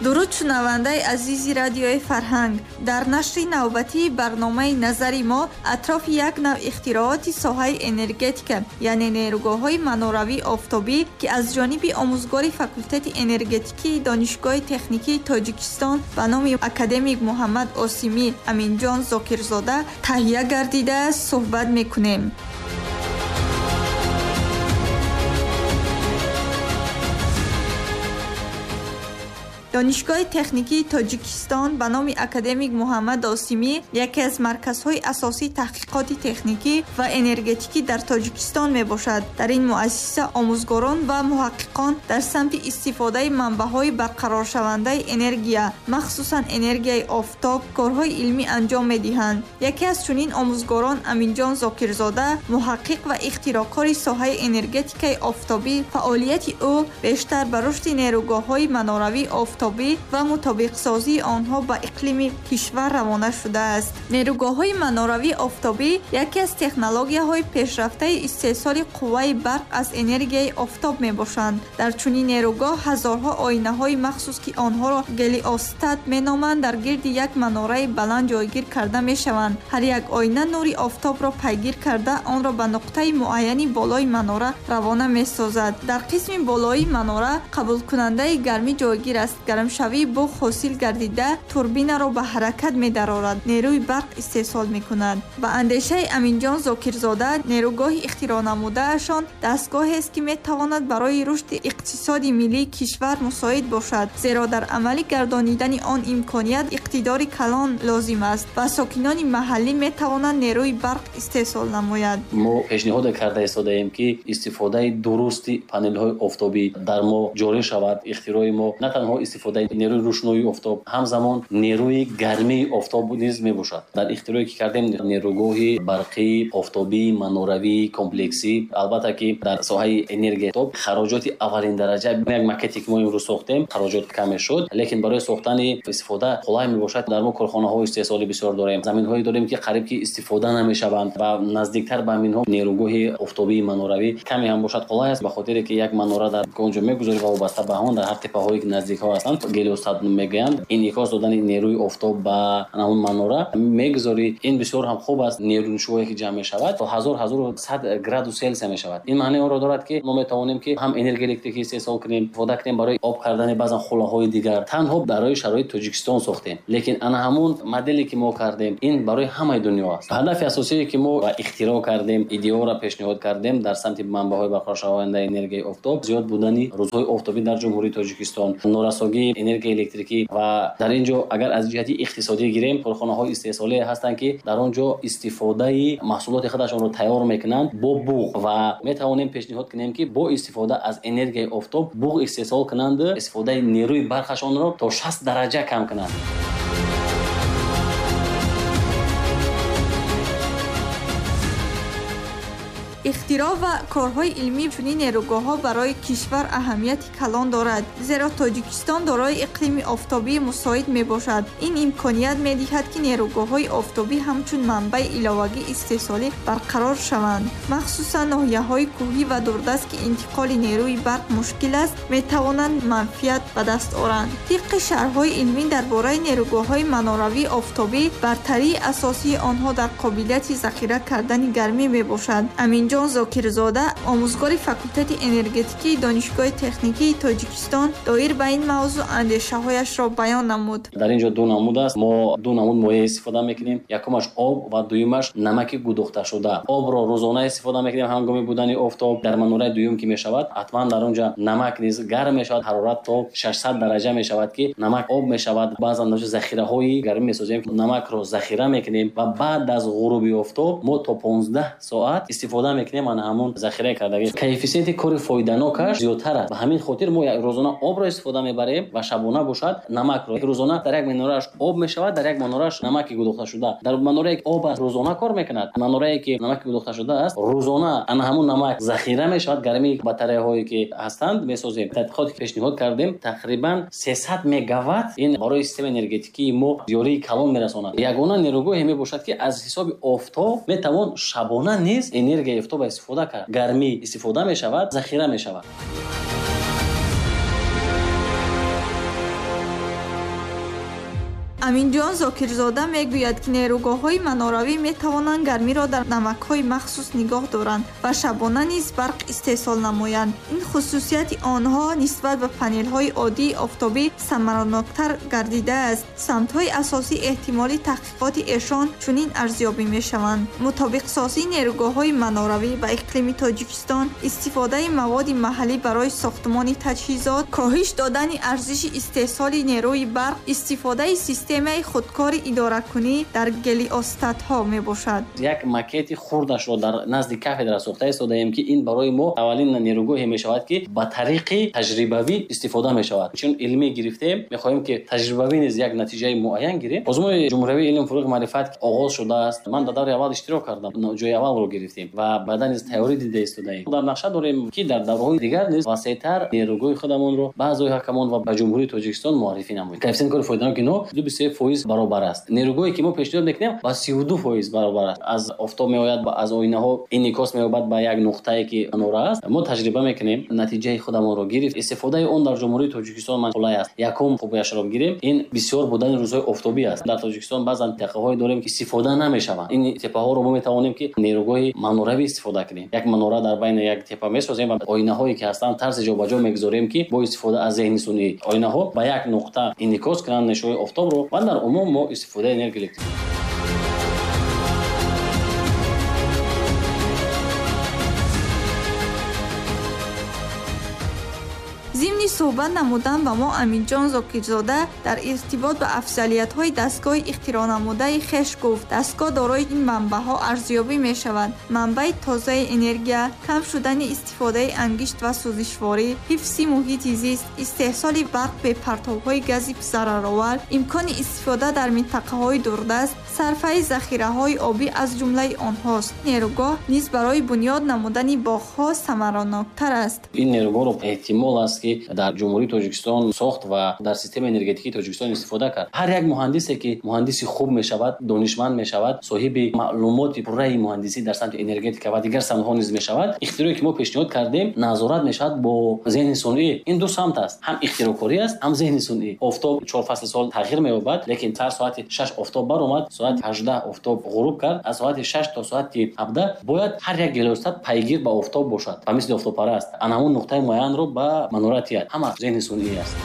Дуруд шунавандаи азизи радиои фарҳанг. Дар нашри навбатии барномаи назари мо атрофи як нав ихтирооти соҳаи энергетика, яъне нерӯгоҳҳои маноравии офтобӣ, ки аз ҷониби омӯзгори факултети энергетикии Донишгоҳи техникии Тоҷикистон ба номи академик Муҳаммад Осимӣ Аминҷон Зокирзода таҳия гардидааст, суҳбат мекунем. Донишгоҳи техникии Тоҷикистон ба номи академик Муҳаммад Осимӣ яке аз марказҳои асосии таҳқиқоти техникӣ ва энергетикӣ дар Тоҷикистон мебошад. Дар ин муассиса омӯзгорон ва муҳаққиқон дар самти истифодаи манбаъҳои барқароршавандаи энергия, махсусан энергияи офтоб, корҳои илмӣ анҷом медиҳанд. Яке аз чунин омӯзгорон Аминҷон Зокирзода, муҳаққиқ ва ихтироъкори соҳаи энергетикаи офтобӣ, фаъолияти ӯ бештар ба рушди нерӯгоҳҳои маноравии офтобӣ ва мутобиқсозии онҳо ба иқлими кишвар равона шудааст. Нерӯгоҳҳои маноравии офтобӣ яке аз технологияҳои пешрафтаи истеҳсоли қувваи барқ аз энергияи офтоб мебошанд. Дар чунин нерӯгоҳ ҳазорҳо оинаҳои махсус, ки онҳоро гелиостат меноманд, дар гирди як манораи баланд ҷойгир карда мешаванд. Ҳар як оина нури офтобро пайгир карда, онро ба нуқтаи муайяни болои манора равона месозад. Дар қисми болоии манора қабулкунандаи гармӣ ҷойгир аст. Гармшавии буғ ҳосил гардида турбинаро ба ҳаракат медарорад, нерӯи барқ истеҳсол мекунад. Ба андешаи Аминҷон Зокирзода, нерӯгоҳи ихтироънамудаашон дастгоҳест, ки метавонад барои рушди иқтисоди миллии кишвар мусоид бошад, зеро дар амалӣ гардонидани он имконият иқтидори калон лозим аст ва сокинони маҳаллӣ метавонанд нерӯи барқ истеҳсол намояд. Мо пешниҳод карда истодаем, ки истифодаи дурусти панелҳои офтобӣ дар мо ҷорӣ шавад. Ихтирои мо на танҳо истифодаи нерӯи рӯшноии офтоб, ҳамзамон нерӯи гармии офтоб низ мебошад. Дар ихтирое ки кардем, нерӯгоҳи барқии офтобии маноравии комплексӣ, албатта ки дар соҳаи энергияи офтоб хароҷоти аввалин дараҷа, як макете ки мо имрӯз сохтем, хароҷот каме шуд, лекин барои сохтани истифода қулай мебошад. Дар мо корхонаҳои истеҳсолӣ бисёр дорем, заминҳое дорем, ки қариб ки истифода намешаванд ва наздиктар ба ҳаминҳо нерӯгоҳи офтобии маноравӣ каме ҳам бошад қулай аст, ба хотире ки як манора дар он ҷо мегузорӣ ва вобаста ба он дар ҳар теппаҳое ки наздикҳо ҳастанд, гелиостат мегӯянд, инъикос додани нерӯи офтоб ба он манора мегузорӣ. Ин бисёр ҳам хуб аст. Нерӯшӯе ки ҷамъ мешавад то 1000-1100 градус Селсия мешавад. Ин маънии онро дорад, ки мо метавонем ки ҳам энергияи электрикӣ истеҳсол кунем, истифода кунем барои об кардани баъзан хулаҳои дигар. Танҳо барои шароити Тоҷикистон сохтем, лекин ана ҳамун моделе ки мо кардем, ин барои ҳамаи дунё аст. Ҳадафи асосие ки мо ихтироъ кардем, идеоро пешниҳод кардем дар самти манбаъҳои барқароршавандаи энергияи офтоб, зиёд будани рӯзҳои офтобӣ дар Ҷумҳурии Тоҷикистон, норасогии энергияи электрикӣ ва дар ин ҷо агар аз ҷиҳати иқтисодӣ гирем, корхонаҳои истеҳсолие ҳастанд, ки дар он ҷо истифодаи маҳсулоти худашонро тайёр мекунанд бо буғ ва метавонем пешниҳод кунем, ки бо истифода аз энергияи офтоб буғ истеҳсол кунанд, истифодаи нерӯи барқашонро то 60 дараҷа кам кунанд. Ихтироъ ва корҳои илмии чунин нерӯгоҳҳо барои кишвар аҳамияти калон дорад, зеро Тоҷикистон дорои иқлими офтобии мусоид мебошад. Ин имконият медиҳад, ки нерӯгоҳҳои офтобӣ ҳамчун манбаи иловагии истеҳсолӣ барқарор шаванд. Махсусан ноҳияҳои кӯҳӣ ва дурдаст, ки интиқоли нерӯи барқ мушкил аст, метавонанд манфиат ба даст оранд. Тибқи шарҳҳои илмӣ дар бораи нерӯгоҳҳои маноравии офтобӣ, бартарии асосии онҳо дар қобилияти захира кардани гармӣ мебошад. Аминҷон Зокирзода, омӯзгори факултети энергетикии Донишгоҳи техникии Тоҷикистон, доир ба ин мавзӯъ андешаҳояшро баён намуд. Дар ин ҷо ду намуд аст. Мо ду намуд моеъ истифода мекунем. Якумаш об ва дуюмаш намаки гудохташуда. Обро рӯзона истифода мекунем ҳангоми будани офтоб. Дар манораи дуюм ки мешавад, ҳатман дар он ҷо намак низ гарм мешавад, ҳарорат то 600 дараҷа мешавад, ки намак об мешавад. Баъзан дар захираҳои гармӣ месозем, намакро захира мекунем ва баъд аз ғуруби офтоб мо то 15 соат истифода мекунем ана ҳамон захира кардагӣ. Коэффисиенти кори фоиданокаш зиёдтар аст. Ба ҳамин хотир мо рӯзона обро истифода мебарем ва шабона бошад намакро. Рӯзона дар як манорааш об мешавад, дар як манорааш намаки гудохташуда. Дар манорае ки об аст рӯзона кор мекунад, манорае ки намаки гудохташуда аст рӯзона ана ҳамон намак захира мешавад. Гармии батареяҳое ки ҳастанд месозем. Тадқиқоте ки пешниҳод кардем, тақрибан 300 мегаватт ин барои системаи энергетикии мо ёрии калон мерасонад. Ягона нерӯгоҳе мебошад, ки аз ҳисоби офтоб метавон шабона низ энергияи офтоб истифода кард. Гармӣ истифода мешавад, захира мешавад. Аминҷон Зокирзода мегӯяд, ки нерӯгоҳҳои маноравӣ метавонанд гармиро дар намакҳои махсус нигоҳ доранд ва шабона низ барқ истеҳсол намоянд. Ин хусусияти онҳо нисбат ба панелҳои оддии офтобӣ самараноктар гардидааст. Самтҳои асосии эҳтимоли таҳқиқоти эшон чунин арзёбӣ мешаванд: мутобиқсозии нерӯгоҳҳои маноравӣ ба иқлими Тоҷикистон, истифодаи маводи маҳаллӣ барои сохтмони таҷҳизот, коҳиш додани арзиши истеҳсоли нерӯи барқ, истифодаи системаи худкори идоракунӣ дар гелиостатҳо мебошад. Як макети хурдашро дар назди кафедра сохта истодаем, ки ин барои мо аввалин нерӯгоҳе мешавад, ки ба тариқи таҷрибавӣ истифода мешавад. Чун илмӣ гирифтем, мехоҳем, ки таҷрибавӣ низ як натиҷаи муайян гирем. Озмуни ҷумҳуриявии илм, фурӯғи маърифат оғоз шудааст. Ман дар давраи аввал иштирок кардам, ҷои аввалро гирифтем ва баъдан низ тайёрӣ дида истодаем. Дар нақша дорем, ки дар давраҳои дигар низ васеътар нерӯгоҳи худамонро ба аъзои ҳакамон ва ба Ҷумҳурии Тоҷикистон муаррифӣ намоем. Коэффисиенти кори фоиданоки инҳо 2,3% баробар аст. Нерӯгоҳе ки мо пешниҳод мекунем ба 32% баробар аст. Аз офтоб меояд, аз оинаҳо инъикос меёбад ба як нуқтае, ки манора аст. Мо таҷриба мекунем, натиҷаи худамонро гирифт. Истифодаи он дар Ҷумҳурии Тоҷикистон қулай аст. Якум хубияшро гирем, ин бисёр будани рӯзҳои офтобӣ аст. Дар Тоҷикистон баъзан теппаҳое дорем, ки истифода намешаванд. Ин теппаҳоро мо метавонем, ки нерӯгоҳи маноравӣ истифода кунем. Як манора дар байни як теппа месозем ва оинаҳое ки ҳастанд тарзи ҷобаҷо мегузорем, ки бо истифода аз зеҳни сунъӣ оинаҳо ба як нуқта инъикос кунанд нишои офтобро ва дар умум мо истифодаи энергия электрик. Зимни суҳбат намудан ба мо Аминҷон Зокирзода дар иртибот ба афзалиятҳои дастгоҳи ихтироънамудаи хеш гуфт: дастгоҳ дорои ин манбаъҳо арзёбӣ мешавад: манбаи тозаи энергия, кам шудани истифодаи ангишт ва сӯзишворӣ, ҳифзи муҳити зист, истеҳсоли барқ бе партовҳои гази зараровар, имкони истифода дар минтақаҳои дурдаст, сарфаи захираҳои обӣ аз ҷумлаи онҳост. Нерӯгоҳ низ барои бунёд намудани боғҳо самараноктар аст. Ин нерӯгоҳро эҳтимол аст, ки дар Ҷумҳурии Тоҷикистон сохт ва дар системаи энергетикии Тоҷикистон истифода кард. Ҳар як муҳандисе, ки муҳандиси хуб мешавад, донишманд мешавад, соҳиби маълумоти пурраи муҳандисӣ дар самти энергетика ва дигар самтҳо низ мешавад, ихтироъе ки мо пешниҳод кардем назорат мешавад бо зеҳни сунъӣ. Ин ду самт аст, ҳам ихтироъкорӣ аст, ҳам зеҳни сунъӣ. Офтоб 4 фасли сол тағйир меёбад, лекин сар соати 6 офтоб баромад, соати 18 офтоб ғуруб кард. Аз соати 6 то соати 17 бояд ҳар як гелиостат пайгир ба офтоб бошад, ба мисли офтобпараст. Ана ҳамон нуқтаи муайянро ба манора тиҳад. Ҳама зеҳни сунъӣ аст.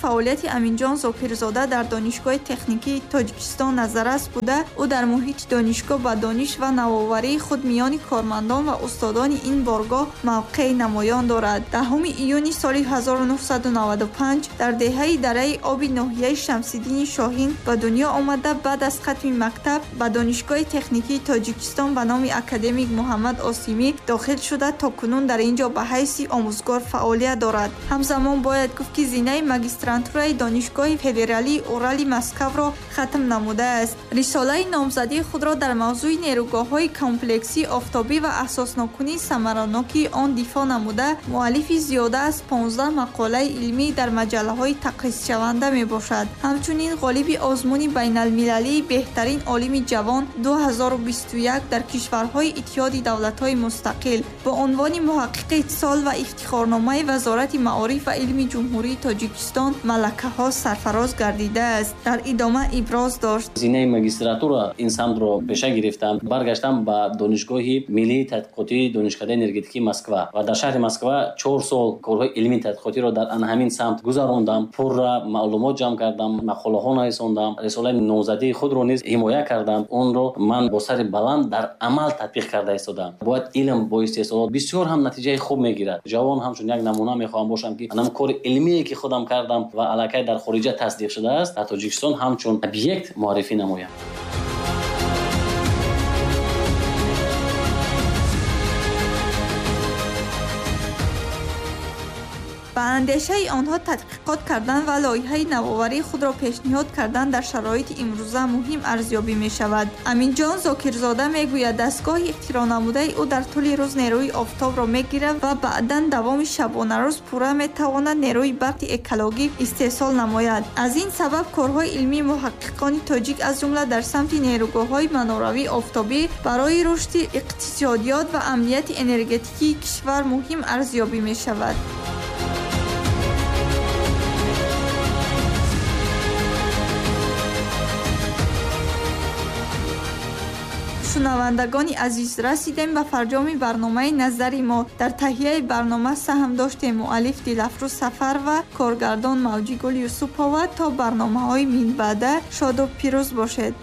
Фаъолияти Аминҷон Зокирзода дар Донишгоҳи техникии Тоҷикистон назаррас буда, ӯ дар муҳити донишгоҳ ба дониш ва навоварии худ миёни кормандон ва устодони ин боргоҳ мавқеи намоён дорад. 10 июни соли 1995 дар деҳаи Дараи Оби ноҳияи Шамсиддини Шоҳин ба дунё омада, баъд аз хатми мактаб ба Донишгоҳи техникии Тоҷикистон ба номи академик Муҳаммад Осимӣ дохил шуда, то кунун дар ин ҷо ба ҳайси омӯзгор фаъолият дорад. Ҳамзамон бояд гуфт, ки зинаи магистрантураи Донишгоҳи федералии Урали Москваро хатм намудааст. Рисолаи номзадии худро дар мавзӯи нерӯгоҳҳои комплексии офтобӣ ва асосноккунии самаранокии он дифоъ намуда, муаллифи зиёда аз 15 мақолаи илмӣ дар маҷаллаҳои тақризшаванда мебошад. Ҳамчунин ғолиби озмуни байналмилалии беҳтарин олими ҷавон 2021 дар кишварҳои Иттиҳоди давлатҳои мустақил бо унвони муҳаққиқи сол ва ифтихорномаи Вазорати маориф ва илми Ҷумҳурии Тоҷикистон малакаҳо сарфароз гардидааст. Дар идома иброз дошт: зинаи магистратура ин самтро пеша гирифтам, баргаштам ба Донишгоҳи миллии тадқиқотии Донишкадаи энергетикии Москва ва дар шаҳри Москва 4 сол корҳои илмии тадқиқотиро дар ана ҳамин самт гузарондам, пурра маълумот ҷамъ кардам, мақолаҳо нависондам, рисолаи номзадии худро низ ҳимоя кардам. Онро ман бо сари баланд дар амал татбиқ карда истодам. Бояд илм бо истеҳсолот бисёр ҳам натиҷаи хуб мегирад. Ҷавон ҳамчун як намуна мехоҳам бошам, ки анам кори илмие ки худам кардам ва аллакай дар хориҷа тасдиқ шудааст, дар Тоҷикистон ҳамчун объект муаррифӣ намоям. Ба Андешаи онҳо тадқиқот кардан ва лоиҳаи навоварии худро пешниҳод кардан дар шароити имрӯза муҳим арзёбӣ мешавад. Аминҷон Зокирзода мегӯяд, дастгоҳи ихтироънамудаи ӯ дар тӯли рӯз нерӯи офтобро мегирад ва баъдан давоми шабонарӯз пурра метавонад нерӯи барқи экологӣ истеҳсол намояд. Аз ин сабаб корҳои илмии муҳаққиқони тоҷик, аз ҷумла дар самти нерӯгоҳҳои маноравии офтобӣ, барои рушди иқтисодиёт ва амнияти энергетикии кишвар муҳим арзёбӣ мешавад. Шунавандагони азиз, расидем ба фарҷоми барномаи назари мо. Дар таҳияи барнома саҳм доштем муаллиф Дилафрӯз Сафар ва коргардон Мавҷигул Юсупова. То барномаҳои минбаъда шоду пирӯз бошед.